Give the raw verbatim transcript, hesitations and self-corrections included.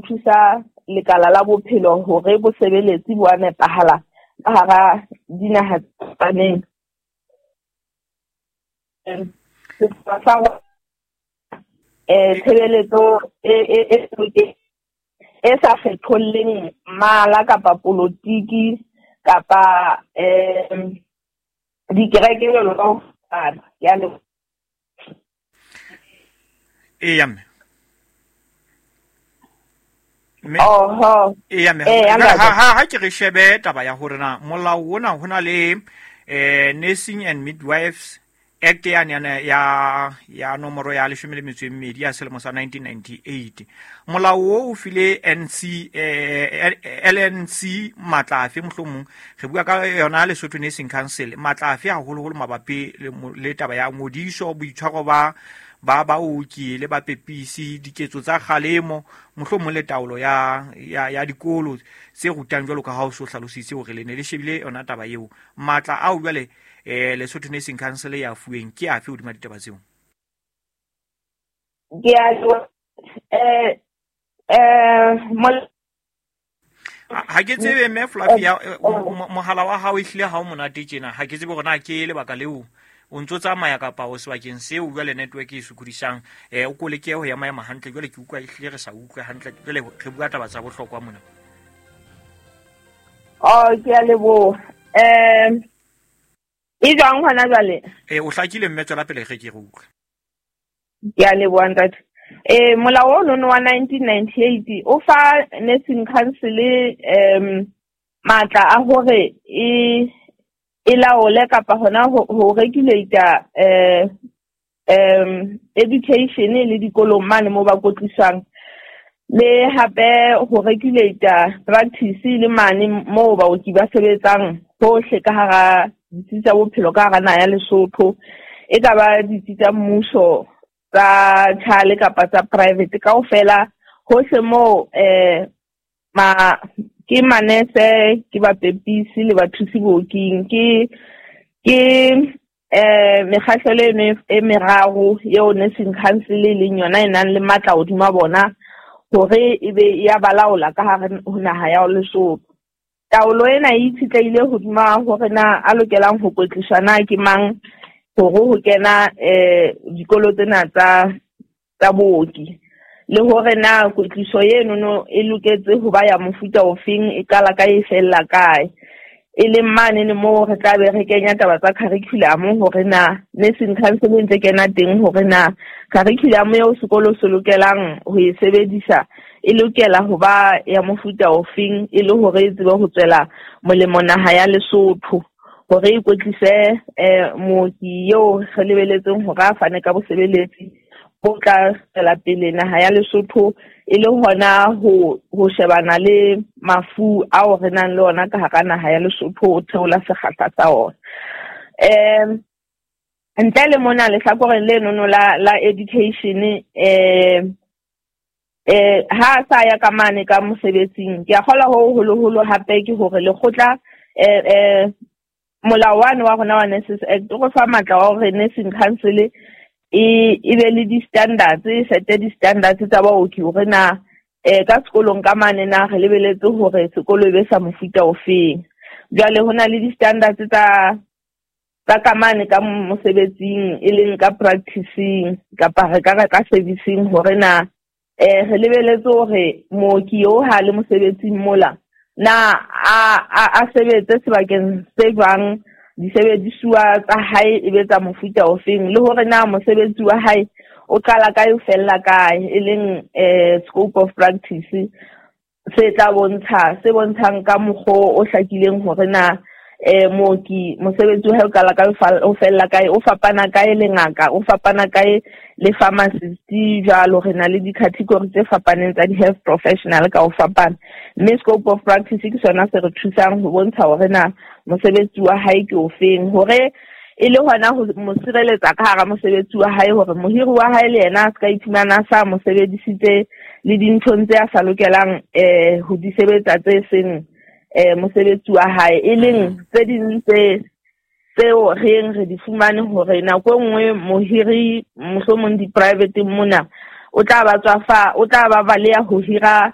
thusa lekala la bophelo hore bo sebeletse bo a nepahala ka hara dinaha tse fapaneng. Eh tshebeletso e e e e sa kgetholleng mmala kapa polotiki kapa eh dikereke jwalo ka ho fapana. Ke a leboha. Eya mme. Mme Oho. Eya mme. Eh, Ha ntate. ha ha ke re shebe taba ya hore na molao ona ho na le eh Nursing and Midwives Act ya ya ya ya nomoro ya leshome le metso e mmedi ya selemo sa nineteen ninety-eight. Molao o o file N C, eh, L N C matla afe mohlomong re bua ka yona Lesotho Nursing Council matla afe haholoholo mabapi le mo-, le taba ya ngodiso, boitshwaro ba ba baoki le bapepisi, diketso tsa kgalemo, mohlomong le taolo ya, ya, ya dikolo tse rutang jwalo ka ha o so hlalositse hore le ne le shebile yona taba eo. Matla ao jwale eh Lesotho Nursing Council ya fuweng ke afe hodima ditaba tseo? Ke a leboha. Eh, eh, mol- Ha ke tsebe mme Flavia, eh, mo-, mo-, mohala wa hao ehlile ha o monate tjena. Ha ke tsebe hore na ke lebaka leo o ntso tsamaya kapa o sebakeng seo jwale network e sokodisang. Eh, o ko leke ho ya maema hantle jwale ke utlwa ehlile re sa utlwe hantle jwale re bua taba tsa bohlokwa mona. Oh, ke a leboha. Eh, e jwang hona jwale? Eh, o hlakile mme, tswela pele re ke re utlwe. Ke a leboha ntate. Eh, molao ono wa nineteen ninety-eight o fa Nursing Council, em, matla a hore e, e laole kapa hona ho, ho regulate, eh, em, education le dikolong mane mo ba kwetliswang, le hape ho regulate practice le mane mo baoki ba sebetsang hohle ka hara ditsi tsa bophelo ka hara naha ya Lesotho, e ka ba ditsi tsa mmuso tsa tjhale kapa tsa private kaofela hohle moo, eh, ma, ke manese, ke bapepisi le bathusi booking, ke, ke, eh, mekgahlelo eno e meraro eo Nursing Council e leng yona e nang le matla hodima bona hore e be ya balaola ka hare ho naha ya Lesotho. Taolo ena e itshetlehile hodima hore na a lokelang ho kwetliswa na ke mang hore ho kena, eh, dikolo tsena tsa, tsa booki, le hore na kwetliso eno no e loketse ho ba ya mofuta ofeng, e qala kae, e fella kae. E leng mane ne moo re tla be re kenya taba tsa curriculum hore na Nursing Council e ntse kena teng hore na curriculum eo sekolo se lokelang ho e sebedisa e lokela ho ba ya mofuta ofeng, e le hore e tsebe ho tswela molemo naha ya Lesotho, hore e kwetlise, eh, mooki eo re lebeletseng hore a fane ka bosebeletsi bo tla tswela pele naha ya Lesotho, e le hona ho, ho shebana le mafu ao re nang le ona ka hara naha ya Lesotho, ho theola sekgahla sa ona. Eh, ntle le mona lehlakoreng lenono la, la education, eh, eh, ha a sa ya ka mane ka mosebetsing, ke a kgolwa ho holoholo hape ke hore lekgotla, eh, eh, molao wane wa rona wa Nurses Act o re fa matla wa hore Nursing Council e, e be le di-standards, e sete di-standards tsa baoki hore na, eh, ka sekolong ka mane na re lebeletse hore sekolo e be sa mofuta ofeng. Jwale ho na le di-standards tsa, tsa ka mane ka mosebetsing, e leng ka practicing kapa re ka re ka servicing, hore na, eh, re lebeletse hore mooki eo ha le mosebetsing mola na a, a, a sebetse sebakeng se jwang, disebedisuwa tsa hae e be tsa mofuta ofeng, le hore na mosebetsi wa hae o qala kae o fella kae, e leng, eh, scope of practice se tla bontsha, se bontshang ka mokgwa o hlakileng hore na, eh, mooki mosebetsi wa hae o qala kae, o fa-, o fella kae, o fapana kae le ngaka, o fapana kae le pharmacist jwalo. Re na le di-category tse fapaneng tsa di-health professional ka ho fapana, mme scope of practice ke sona se re thusang ho bontsha hore na mosebetsi wa hae ke ofeng, hore e le hona ho mo sireletsa ka hara mosebetsi wa hae, hore mohiri wa hae le yena a se ka iphumana a sa mo sebedisitse le dinthong tse a sa lokelang, eh, ho di sebetsa tse seng, eh, mosebetsi wa hae, e leng tse ding tse, tseo re yeng re di fumane hore nako e nngwe mohiri mohlomong di-private mona o tla ba tswa fa, o tla ba baleha ho hira